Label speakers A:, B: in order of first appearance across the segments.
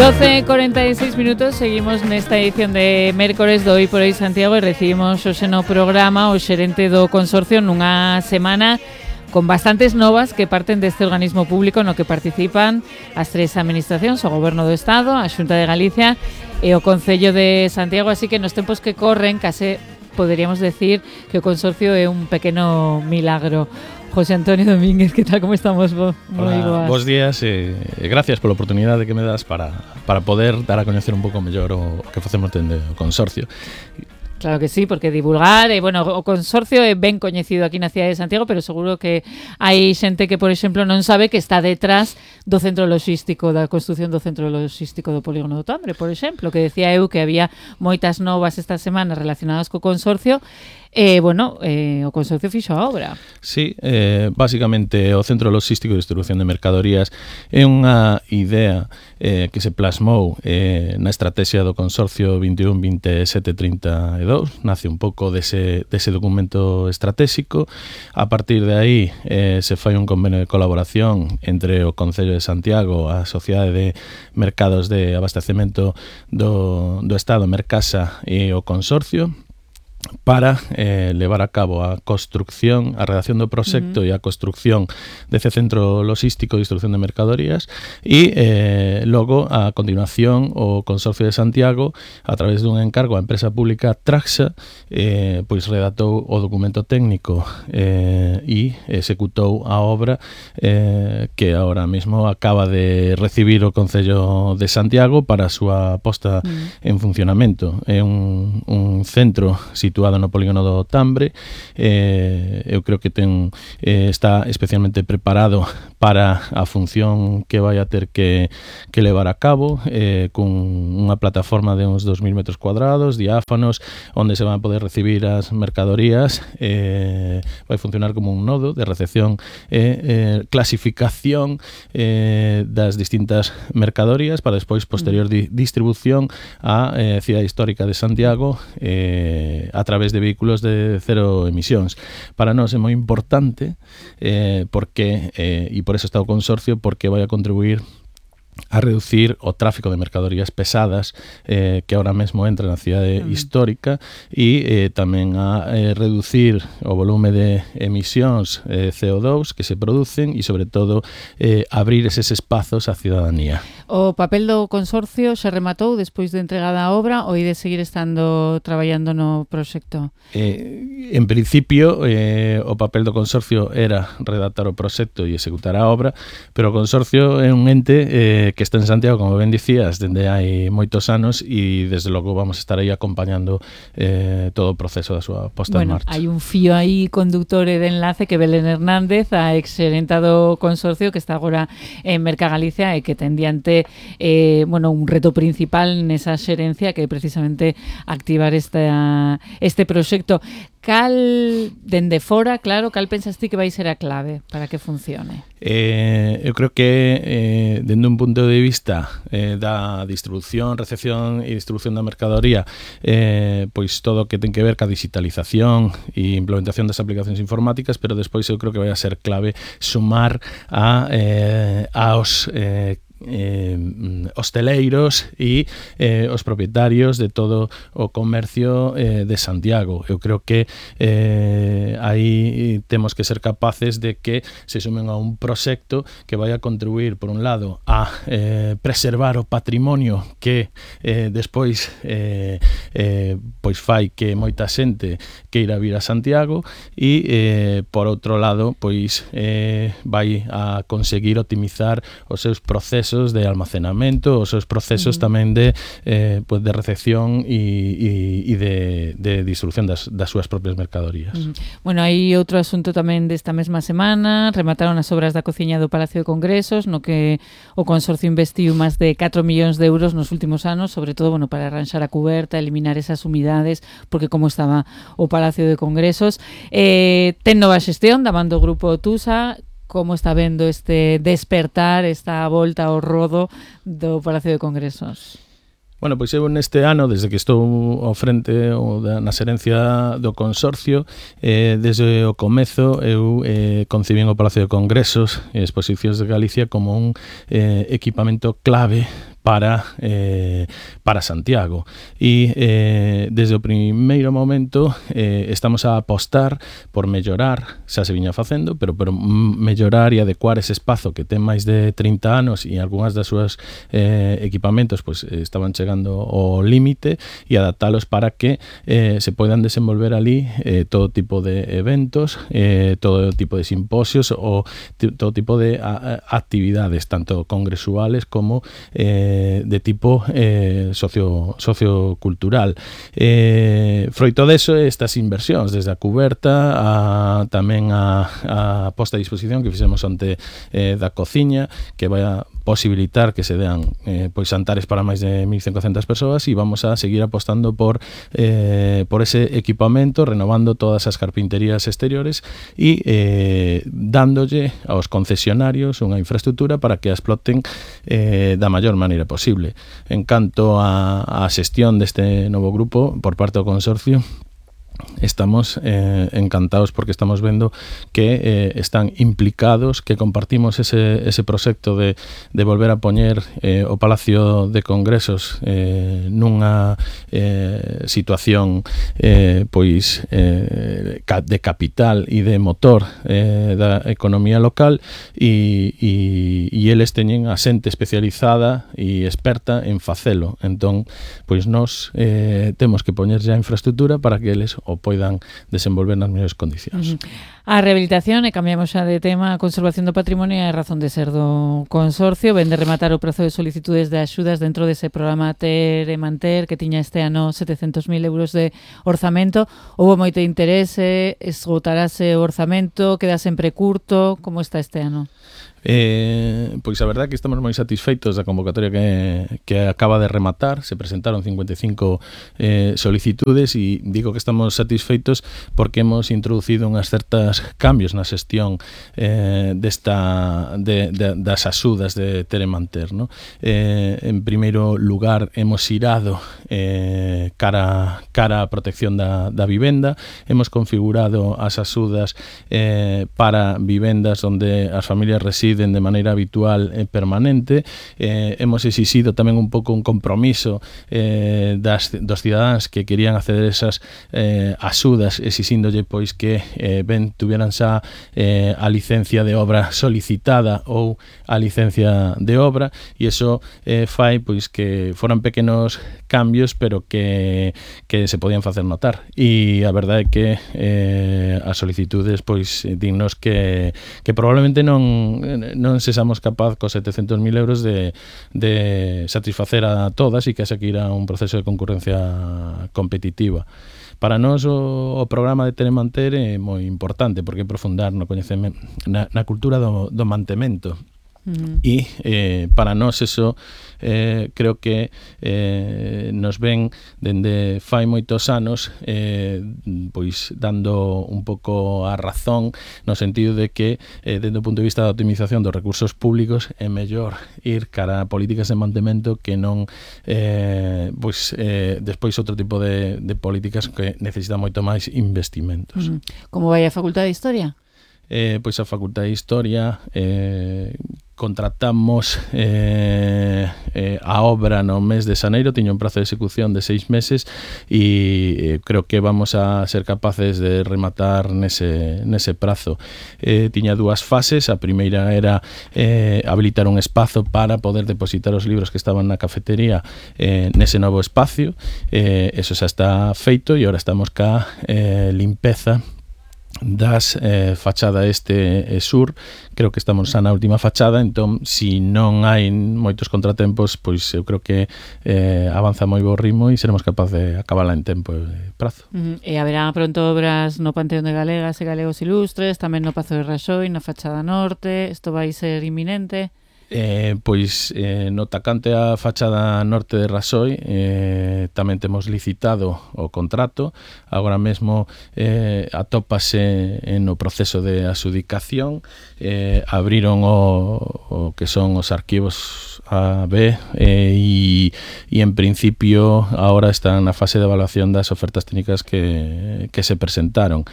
A: 12:46 minutos, seguimos nesta edición de Mércores do Hoy por Hoy Santiago e recibimos hoxe no programa o xerente do Consorcio nunha semana con bastantes novas que parten deste organismo público no que participan as tres administracións, o Goberno do Estado, a Xunta de Galicia e o Concello de Santiago, así que nos tempos que corren case poderíamos decir que o Consorcio é un pequeno milagro. José Antonio Domínguez, que tal, como estamos? Moi boas.
B: Bos días e gracias pola oportunidade que me das para poder dar a coñecer un pouco mellor o que facemos dende o Consorcio.
A: Claro que sí, porque divulgar, bueno, o Consorcio é ben coñecido aquí na cidade de Santiago, pero seguro que hai xente que, por exemplo, non sabe que está detrás do centro logístico, da construción do centro logístico do Polígono do Tambre, por exemplo, que decía eu que había moitas novas esta semana relacionadas co Consorcio. O Consorcio fixo a obra.
B: Sí, básicamente o Centro Logístico de Distribución de Mercadorías é unha idea que se plasmou na estrategia do Consorcio 21-27-32, nace un pouco dese documento estratégico. A partir de aí se fai un convenio de colaboración entre o Concello de Santiago, a Sociedade de Mercados de Abastecemento do Estado, Mercasa, e o Consorcio, para levar a cabo a construcción, a redacción do proxecto e a construcción dese centro logístico de distribución de mercadorías e logo, a continuación, o Consorcio de Santiago, a través dun encargo á empresa pública Traxa, pois redactou o documento técnico e executou a obra que ahora mesmo acaba de recibir o Concello de Santiago para a súa posta en funcionamento. É un centro situado no Polígono do Tambre. Eu creo que está especialmente preparado para a función que vai a ter que levar a cabo, con unha plataforma de uns 2.000 metros cuadrados, diáfanos, onde se van a poder recibir as mercadorías. Vai funcionar como un nodo de recepción e clasificación das distintas mercadorías para despois posterior distribución á cidade histórica de Santiago a través de vehículos de cero emisións. Para nós é moi importante porque, e por eso está o Consorcio, porque vai a contribuir a reducir o tráfico de mercadorías pesadas que ahora mesmo entra na cidade histórica e tamén a reducir o volume de emisións CO2 que se producen e, sobre todo, abrir eses espazos á cidadanía.
A: O papel do Consorcio se rematou despois de entregada a obra ou de seguir estando traballando no proxecto?
B: En principio, o papel do Consorcio era redactar o proxecto e executar a obra, pero o Consorcio é un ente que está en Santiago, como ben dicías, dende hai moitos anos e desde logo vamos a estar aí acompañando todo o proceso da súa posta en marcha.
A: Hai un fío aí conductor e de enlace que Belén Hernández, a exxerenta do Consorcio, que está agora en Merca Galicia e que ten diante un reto principal nesa xerencia, que é precisamente activar este proxecto. Cal, dende fora, claro, cal pensas ti que vai ser a clave para que funcione?
B: Eu creo que dende un punto de vista da distribución, recepción e distribución da mercadoría, pois todo o que ten que ver ca digitalización e implementación das aplicacións informáticas, pero despois eu creo que vai a ser clave sumar aos hosteleiros e os propietarios de todo o comercio de Santiago. Eu creo que aí temos que ser capaces de que se sumen a un proxecto que vai a contribuir, por un lado, a preservar o patrimonio que despois pois fai que moita xente queira vir a Santiago e, por outro lado, pois vai a conseguir optimizar os seus procesos de almacenamento, os seus procesos tamén de recepción e de distribución das súas propias mercadorías.
A: Bueno, hai outro asunto tamén desta mesma semana. Remataron as obras da cociña do Palacio de Congresos, no que o Consorcio investiu máis de 4 millóns de euros nos últimos anos, sobre todo para arranxar a cuberta, eliminar esas humidades, porque como estaba o Palacio de Congresos. Ten nova xestión da man do Grupo Tusa. Como está vendo este despertar, esta volta ao rodo do Palacio de Congresos?
B: Bueno, pois eu neste ano, desde que estou ao frente na xerencia do Consorcio, desde o comezo eu concibín o Palacio de Congresos e Exposicións de Galicia como un equipamento clave para Santiago. E desde o primeiro momento estamos a apostar por mellorar, xa se viña facendo, pero por mellorar e adecuar ese espazo que ten máis de 30 anos e algunhas das súas equipamentos pues, estaban chegando ao límite e adaptalos para que se poidan desenvolver ali todo tipo de eventos, todo tipo de simposios ou todo tipo de actividades, tanto congresuales como de tipo sociocultural. Froito deso, estas inversións desde a cuberta tamén a posta a disposición que fixemos onte da cociña, que vai a posibilitar que se dean pois xantares para máis de 1.500 persoas, e vamos a seguir apostando por ese equipamento, renovando todas as carpinterías exteriores e dándolle aos concesionarios unha infraestructura para que a exploten da maior maneira posible. En canto a xestión deste novo grupo por parte do consorcio, estamos encantados porque estamos vendo que están implicados, que compartimos ese proxecto de volver a poñer o Palacio de Congresos nunha situación pois de capital e de motor da economía local, e eles teñen a xente especializada e experta en facelo. Entón, pois nós temos que poñer xa infraestructura para que eles o poidan desenvolver nas mellores condicións.
A: A rehabilitación, e cambiamos xa de tema, a conservación do patrimonio é a razón de ser do consorcio. Ven de rematar o prazo de solicitudes de axudas dentro dese programa Ter e Manter, que tiña este ano 700.000 euros de orzamento. Houve moito interese, esgotarase o orzamento, queda sempre curto. Como está este ano?
B: Pois a verdade é que estamos moi satisfeitos da convocatoria que acaba de rematar. Se presentaron 55 solicitudes, e digo que estamos satisfeitos porque hemos introducido unhas certas cambios na xestión das axudas de Ter e Manter, no? En primeiro lugar, hemos irado cara a protección da vivenda. Hemos configurado as axudas para vivendas onde as familias residen de maneira habitual e permanente. Hemos exixido tamén un pouco un compromiso dos cidadáns que querían acceder a esas axudas, exixíndolle pois que tuvieran xa a licencia de obra solicitada ou a licencia de obra, e iso fai pois que foran pequenos cambios, pero que se podían facer notar. E a verdade é que as solicitudes pois dignos que probablemente non sexamos capaz cos 700.000 euros de satisfacer a todas, e que haxa que ir a un proceso de concurrencia competitiva. Para nós o programa de Ter e Manter é moi importante porque é profundar no coñecemento, na cultura do mantemento. E para nós eso creo que nos ven dende fai moitos anos pois dando un pouco a razón, no sentido de que dende o punto de vista da optimización dos recursos públicos é mellor ir cara a políticas de mantemento que non despois outro tipo de políticas que necesitan moito máis investimentos.
A: Como vai a Facultade de Historia?
B: Pois a Facultade de Historia contratamos a obra no mes de xaneiro, tiña un prazo de execución de 6 meses, e creo que vamos a ser capaces de rematar nese prazo. Tiña dúas fases. A primeira era habilitar un espazo para poder depositar os libros que estaban na cafetería nese novo espacio. Eso xa está feito, e agora estamos ca limpeza das fachada este e sur. Creo que estamos xa na última fachada, entón, si non hai moitos contratempos, pois eu creo que avanza moi bo ritmo e seremos capaces de acabala en tempo e prazo.
A: E haberá pronto obras no Panteón de Galegas e Galegos Ilustres, tamén no Pazo de Raxoi, na fachada norte. Isto vai ser inminente?
B: Pois no tacante a fachada norte de Raxoi tamén temos licitado o contrato. Agora mesmo atópase no proceso de adxudicación. Abriron o que son os arquivos A, B, e e en principio agora están na fase de evaluación das ofertas técnicas que se presentaron.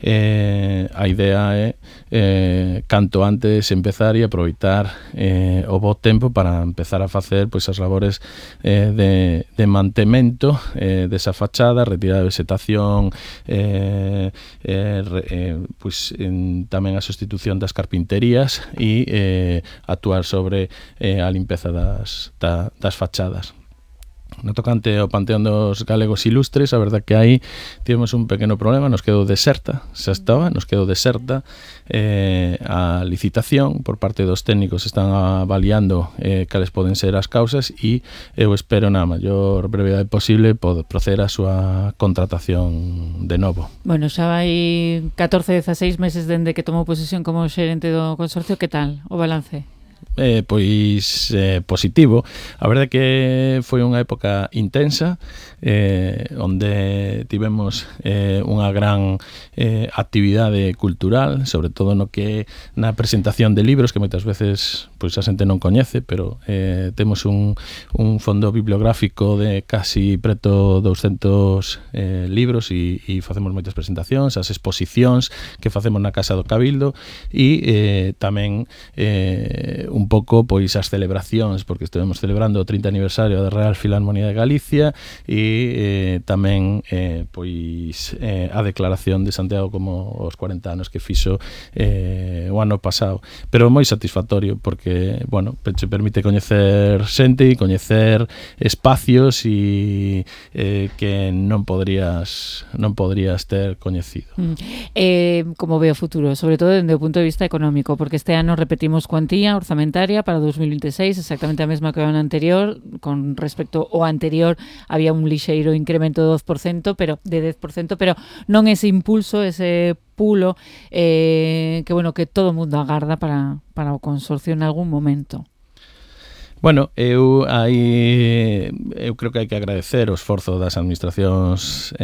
B: A idea é canto antes empezar e aproveitar o bo tempo para empezar a facer pois as labores de mantemento desa fachada, retirada de vegetación, pois tamén a sustitución das carpinterías e actuar sobre a limpeza das fachadas. No tocante ao Panteón dos Galegos Ilustres, a verdad que aí tivemos un pequeno problema, nos quedou deserta, nos quedou deserta a licitación por parte dos técnicos, están avaliando cales poden ser as causas e eu espero na maior brevidade posible proceder a súa contratación de novo.
A: Bueno, xa vai 14-16 meses dende que tomou posesión como xerente do consorcio, que tal o balance?
B: Pois positivo. A verdade que foi unha época intensa onde tivemos unha gran actividade cultural, sobre todo no que na presentación de libros que moitas veces pois a xente non coñece, pero temos un fondo bibliográfico de casi preto 200 libros e facemos moitas presentacións, as exposicións que facemos na Casa do Cabildo e tamén un pouco pois as celebracións, porque estivemos celebrando o 30 aniversario da Real Filarmonía de Galicia e tamén pois a declaración de Santiago como os 40 anos que fixo o ano pasado, pero moi satisfactorio porque, bueno, te permite coñecer xente e coñecer espacios e que non podrías ter coñecido.
A: Como ve o futuro, sobre todo dende o punto de vista económico, porque este ano repetimos cuantía orzamentaria para 2026, exactamente a mesma que o ano anterior. Con respecto ao anterior había un lixeiro incremento de 10%, pero non ese impulso, ese pulo que todo o mundo agarda para o consorcio en algún momento.
B: Bueno, eu creo que hai que agradecer o esforzo das administracións